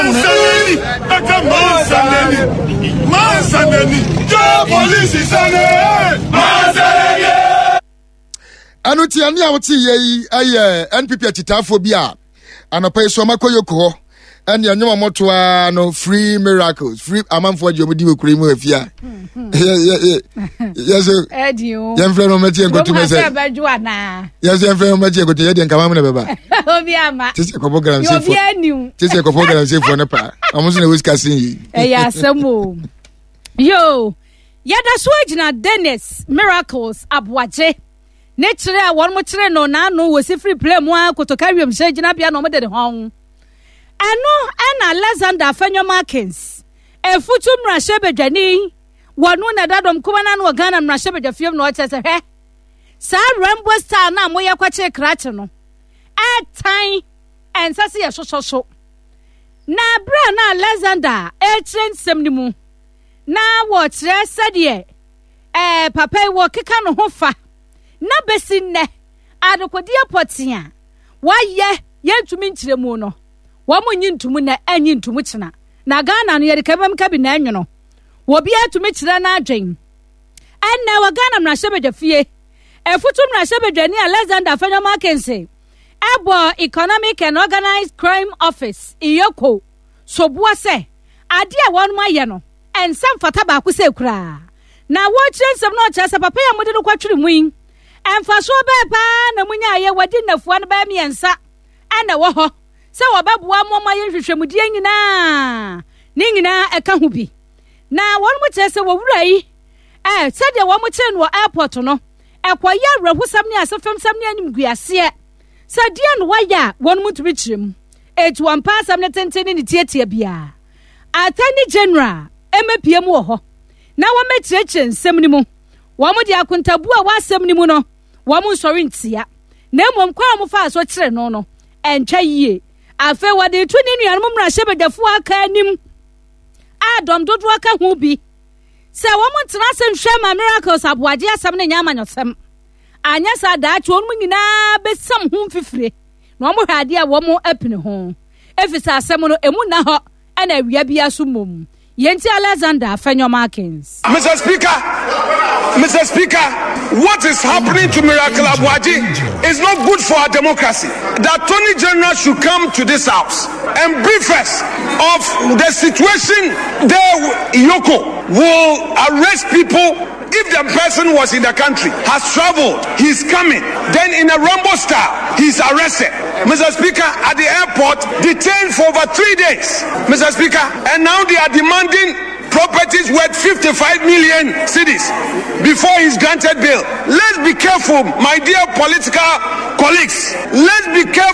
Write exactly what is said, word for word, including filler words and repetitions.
Mansanani, aka mansanani, mansanani, jọ polisi sane, mansanani. Ɛno nti ɛne a wote yɛ yi ɛyɛ N P P akyitaafoɔ bi a anɔpa yi so ɔmakɔ Yoko hɔ, ɛne ɛnwom a ɔmɔto ara no, "Free Miracles, free." Amanfoɔ gye ɔmo di wɔ kuro yi mu afia yɛso ɛdi o. Yɛmfrɛ no ɔmɛkyi yɛnkɔto kurom ha mɛ sɛ sɛ ɛbɛdwo anaa? Yɛso yɛmfrɛ no ɔmɛkyi yɛnkɔto, yɛdeɛ nkama mu na bɛba. Obi ama. Te sɛ kɔbɔ yɛ obi galamseyfoɔ anim. Te sɛ kɔbɔ galamseyfoɔ no paa, ɔmo nso na ɛwɔ sika sen yi. Ɛyɛ asɛm o. Yo, yɛda so agyina Dennis Miracles Aboagye ne kyerɛ a wɔn kyerɛ no n'ano wɔ si firi plane mu a Kotoka wiemhyɛn gyinabea na wɔn de ne ho. Ɛno ɛna Alexander Afenyo Markins, efutu mmarahyɛbadwani, wɔn na ɛda dɔm kuma n'ano wɔ Ghana mmarahyɛbadwa na ɔkyerɛ sɛ, hwɛ, saa Rambo style na moyɛ kɔkye krakye no ɛtan ɛnsa sɛ yɛsosɔ so. Na abere a na Alexander ɛrekyerɛ nsɛm no mu na wɔkyerɛ sɛdeɛ ɛɛ papa yi wɔkeka ne ho fa na bɛsi nnɛ adekodeɛ pɔtee a wayɛ yɛntumi nkyerɛ mu no, wɔn nyi ntomu na ɛnyi ntomu kyena na Ghana no yɛde kabam kabi na ɛnwono obiara tumi kyerɛ n'adwen. Ɛnna wɔ Ghana mmarahyɛbadwa fie, efutu mmarahyɛbadwani Alexander Afenyo Markins ɛbɔ Economic and Organised Crime Office, EOCO, soboɔ sɛ adeɛ a wɔn ayɛ no ɛnsa mfata baako sɛ koraa. Na wɔrekyerɛ nsɛm no, ɔkyerɛ sɛ papa yi a mode no kɔtwere mu yi, ɛmfasoɔ bɛɛ paa na munyaayɛ? Wɔde nnafua no bɛyɛ mmiɛnsa ɛna ɛwɔ hɔ sɛ wɔbɛboa mo ma yɛ nhwehwɛmudeɛ nyinaa ne nyinaa ɛka ho bi. Na wɔn mo kyerɛ sɛ wɔwura yi ɛɛ sɛdeɛ wɔn kyerɛ no wɔ airport no, ɛkɔyɛ awerɛhosɛm ne asefemsɛm ne animguaseɛ sɛ deɛ no wayɛ a wɔn mo ntumi kyerɛ mu etu wɔn mpa asɛm ne tenten ne ne tietie biara. Attorney General ɛmɛpie mu wɔ hɔ na wɔmɛkyerɛkyerɛ nsɛm no mu. Wɔn de akontabu a wɔasɛm no mu no, wɔn nsɔre ntia, na mmom kwan a wɔfa so kyerɛ no no ɛntwa yie. Afei wɔde to ne nuanom mmarahyɛbadwafoɔ aka anim a dɔm dodoɔ ka ho bi sɛ wɔn ntena ase nhwɛ ma Miracles Aboagye asɛm no nyɛ amanyɔsɛm. Anyɛ saa, daakye wɔn nyinaa bɛsam ho mfifire na wɔn hwɛ adeɛ a wɔn apini ho, efisɛ asɛm no emu nna hɔ ɛna awia bi aso mmom. Yɛnti Alexander Afenyo Markins. Mister Speaker, Mister Speaker, what is happening to Miracle Aboagye is not good for our democracy. The Attorney General should come to this house and brief us of the situation there. EOCO will arrest people if the person was in the country, has traveled, he's coming. Then in a Rambo style, he's arrested. Mister Speaker, at the airport, detained for over three days. Mister Speaker, and now they are demanding properties worth fifty-five million cedis before he's granted bail. Let's be careful, my dear political colleagues. Let's be careful.